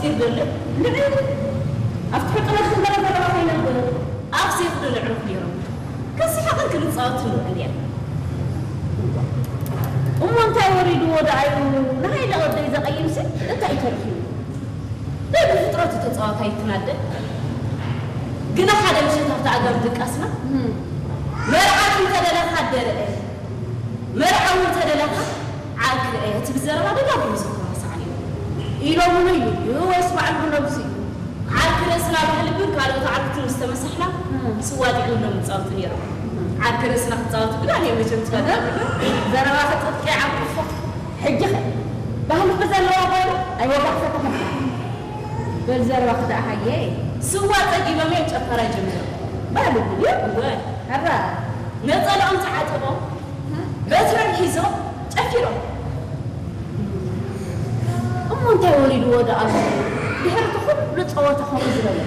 ይደለ ንዕ ኣብ ትሕጥረት ንበረ ዘለዋ ከይነብር ኣብ ሴፍ ዶ ንዕሩፍ ነይሮም። ከስሓቕን ክንጻወት ንብል እንዲያ። እሞ እንታይ ወሪድዎ ደኣ እዩ ንሃይለ ወደይ ዘቐይምሲ? እንታይ ተረኺቡ? ናይ ብፍጥረቱ ተጻዋታይ ትናደ። ግና ሓደ ምሸት ኣብታ ኣጋም ድቃስና መርዓት እንተደለኻ ደረአ፣ መርዓ እውን ተደለኻ ዓርኪ ርአ ትብል ዘረባ ደጋጊሙ ዘተባሳዕ እዩ። ኢሎምሉ እዩ ወይስ ባዕሉ ነብሱ እዩ? ዓርኪ ርእስና ባህሊ ግን ካልኦት ዓርክቲ ምስ ተመሳሕና ስዋ ጥዒምሎም ይጻወቱ ነይሮም። ዓርኪ ርእስና ክጻወቱ ግን ኣነ መቸም ትፈልጥ። ዘረባ ክጥጥቂ ዓርኩፎ። ሕጂ ኸ ባህሊ ብዘለዋ ጓይሉ ኣይወጋሕፈተኹም። በል ዘረባ ክዳእ ሃየ። ስዋ ጸጊቦም እዮም ጨፈራ ጀሚሮም። ባህሊ ግን እወ። ኣራ ነጸላኦም ተዓጢቖም በትሮም ሒዞም ጨፊሮም። እሞ እንታይ ወሪድዎ ደኣ ኣሎ? ድሕሪ እቲ ኩሉ ጸወታ ከምኡ ዝበለ።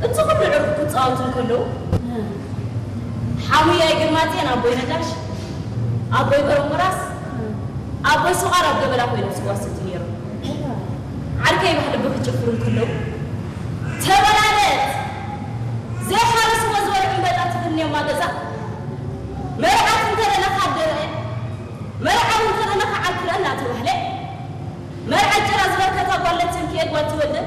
እቲ ኩሉ ዕሩብ ክጻወቱ እንከለዉ ሓሙያይ ግርማጽዮን ኣቦይ ነጋሽ፣ ኣቦይ በረሙራስ፣ ኣቦይ ሱቓር ኣብ ገበላ ኮይኖም ስዋ ዝሰትዩ ነይሮም። ዓርከይ ባህሊ ብክጭፍሩ እንከለዉ ተበላለት ዘይሓረስዎ ዝበልዑ እምበጣ ትፍንዮማ ገዛ መርዓት እንተደለኻ ኣደረአ መርዓ እውን ተደለኻ ዓርክረ እናተባህለ መርዓ ጭራ ዝበርከታ ጓል ለትንክኤ ጓል ትወልደ